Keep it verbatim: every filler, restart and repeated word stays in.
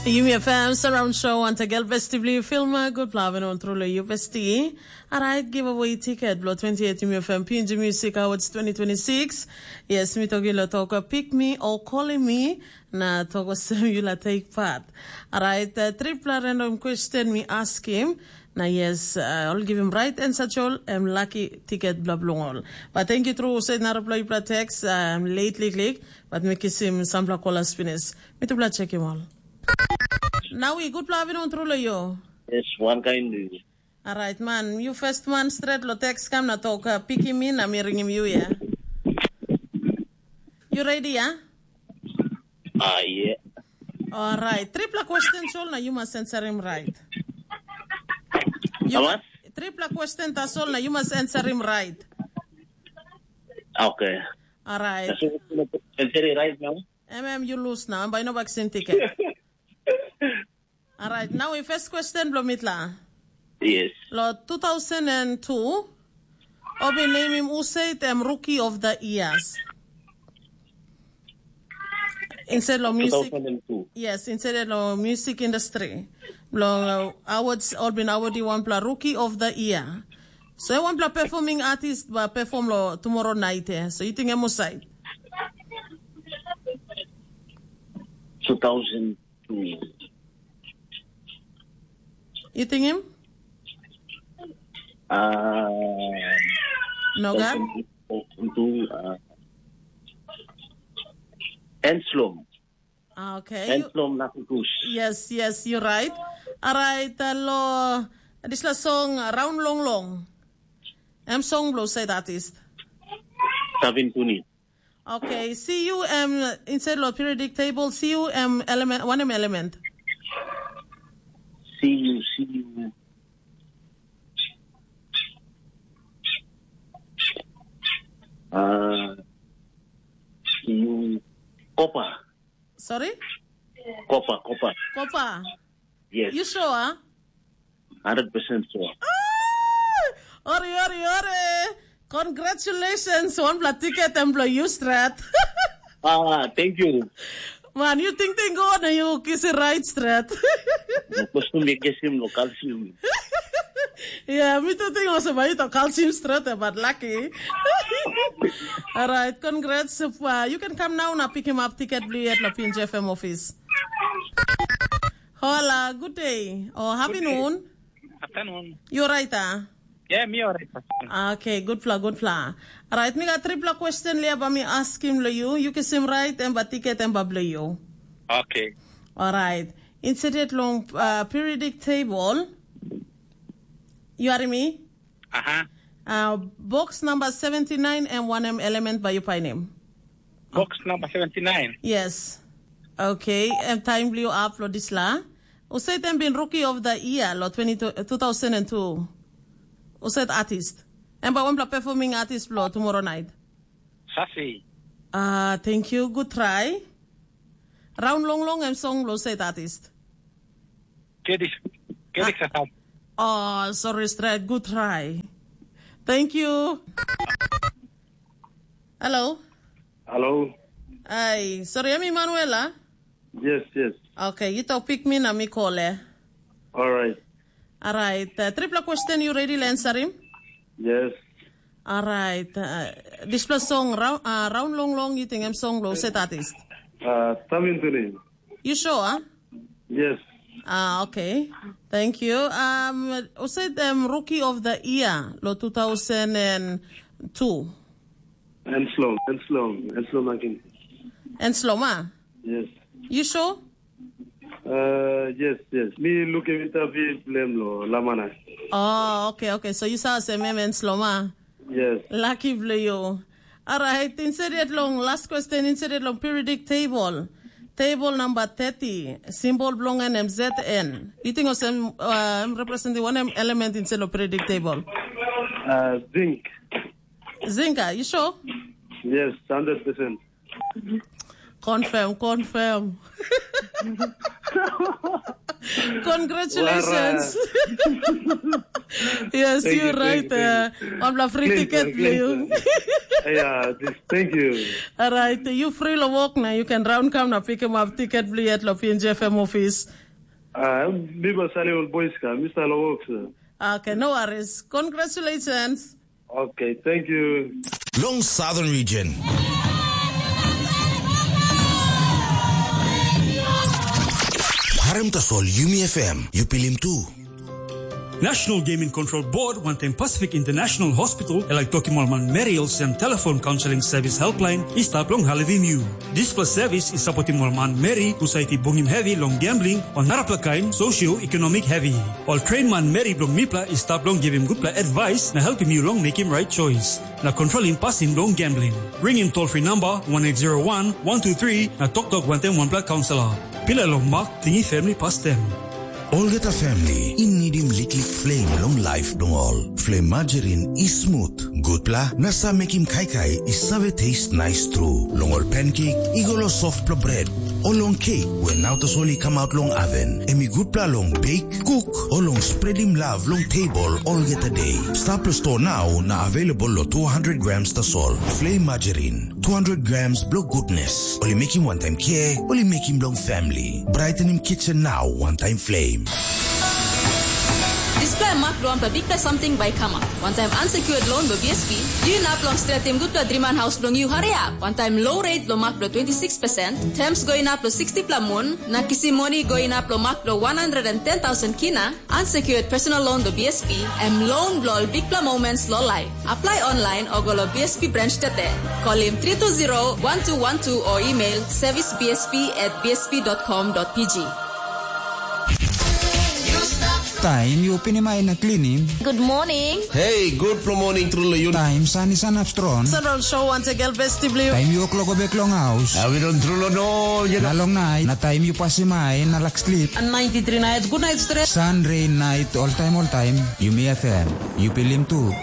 Yumi F M Surround Show, ante gel besti bli filma, good plavin on trule yu besti. Alright, giveaway ticket blo twenty-eight Yumi F M P N G Music Awards twenty twenty-six. Yes, mi toki lo toka pick me or calling me, na toka sem yu la take part. Alright, uh, tripla random question mi askim, na yes, uh, all give him right answer chol, em lucky ticket bla blong all. But thank you true, said narapla yupla text, um, lately click, but mi kisim sampla kolas finis. Mi tupla check him all. Nawi, gutpela avinun tru long yu. Yes, wankain. Orait man, yu first man stret long teks kam na tok uh, pikim mi na mi ringim yu ya. Yu redi ya? Ah, yeah. Orait, tripla question sol na yu mas answerim right. Yu Awas? Tripla question tasol na yu mas answerim right. Okay. Orait. Answer it right now. Em em yu lus nau, em bai no baksim tiket. Alright, nau i first question bilong mitla. Yes. Lo two thousand and two, obi namim usait em rookie of the years. Instead lo music. two thousand two. Yes, instead lo music industry. Lo uh, awards, olbin award i wanpela rookie of the year. So e wanpela performing artist ba perform lo tomorrow night eh. So you think em usait? two thousand two. You think him? Uh, Nogat? Two thousand two, uh, Enslom. Ah, okay. You- Enslom Nakukus. Yes, yes, you're right. Alright, uh, lo, this la song uh, Round Long Long. Em song blo said artist. Savin Tuni. Okay, C U M inside lo periodic table, C U M element, one M element. C U, C U. Uh, C U. Copper. Sorry? Copper, copper. Copper. Yes. You sure? Hundred percent sure. Ah! Ori, ori, ori. Congratulations. One blood ticket and blow you strat. Ah, thank you. Man, you think they go on you kiss it right strat. Custom me guess him no calcium. Yeah, me too think also about it calcium strat, but lucky. All right, congrats. Uh, you can come now and pick him up ticket blue at the P N G F M office. Hola, good day or happy noon. Afternoon. You're right, ah? Yeah, me alright. Ah, okay, good fla, good fla. Alright, mi got triple question lia ba mi ask him lo you. You can sim right and ba ticket and ba blue you. Okay. Alright. Instead long uh, periodic table. You are me? Aha. Uh, box number seventy-nine and one M element by your pie name. Box number seventy-nine. Yes. Okay, em time bliu up lo disla. Usait em bin rookie of the year lo twenty, two thousand and two. Usait artist. Em ba wanpela performing artist lo tomorrow night. Sasi. Ah, thank you. Good try. Round long long em song lo usait artist. Kedik. Kedik sasap. Oh, sorry, straight. Good try. Thank you. Hello. Hello. Ai, sorry, em Emanuela. Yes, yes. Okay, you talk pick me na mi call eh. All right. All right. Uh, triple question, you ready to answer him? Yes. All right. Uh, this plus song round, uh, round long long you think I'm song low set artist. Uh, Tamin Tuni. You sure? Huh? Yes. Ah, okay. Thank you. Um, you said um, rookie of the year, lo two thousand and two. Enslom, Enslom, Enslom again. Enslom, ah? Yes. You sure? Uh, yes, yes. Me looking interview blame lo, Lamana. Oh, okay, okay. So you saw se mem Enslom, ah? Yes. Lucky blue you. All right, instead long last question, instead long periodic table. Table number thirty, symbol belong and M Z N. You think of some uh, representing one element instead of periodic table? Uh, zinc. Zinc, ah, you sure? Yes, hundred percent. Confirm, confirm. Congratulations. Yes, you right. Uh, wanpela free ticket, please. Yeah, this, thank you. Alright, you free lo walk now. You can round come na pick him up ticket blue at lo P N G F M office. Uh, Biba Sali old boys ka, Mister Lowok, sir. Okay, no worries. Congratulations. Okay, thank you. Long Southern Region. Harim tasol Yumi F M, you pilim too. National Gaming Control Board wantaim Pacific International Hospital e laik tokim ol manmeri olsem telefon kaunseling sevis helpline i stap long helpim yu. Dispela sevis i sapotim ol manmeri husat i bungim hevi long gambling o narapela kain socio-economic hevi. Ol train manmeri bilong mipela i stap long givim gutpela advice na helpim yu long mekim right choice na kontrolim pasin bilong gambling. Ringim toll free number one eight zero one one two three na toktok wantaim wanpela kaunselor. Pilai long mak tingim family pastem. Olgeta family i nidim liklik flame long laip bilong ol. Flame margarine i smut, gutpela na sa mekim kaikai i save taste nice tru. Long ol pancake i go long softpela bret, o long cake we nau tasol i kamap long oven. Em i gutpela long bake, cook, o long spreadim love long table olgeta day. Stap long store now na available lo two hundred grams tasol. Flame margarine, two hundred grams blo goodness. Ol i mekim wantaim care, ol i mekim long family. Brightening kitchen now, one time flame. Dispela mak bilong wanpela bikpela samting bai kamap. Wantaim unsecured loan bilong B S P, yu inap long stretim gutpela driman haus bilong yu hariap. Wantaim low rate bilong mak bilong twenty six percent, terms go inap long sixty pela mun, na kisim moni go inap long mak bilong one hundred and ten thousand kina, unsecured personal loan bilong B S P, em loan bilong ol bikpela moments long life. Apply online o go long B S P branch tete. Call him three two zero one two one two or email service B S P at B S P dot com dot P G. Taim yu pinim ai na klinim. Good morning. Hey, good morning, True Layun. Taim san i sanap strong. Sunroll show once again, best blue. Taim yu kloko bek long haus. Awi don True lo no, you Na know. Long nait, na taim yu pasim ai na lak slip. And ninety-three nights, good night stress. Sun, rain, night, all time, all time. Yumi F M. Yu pilim tu.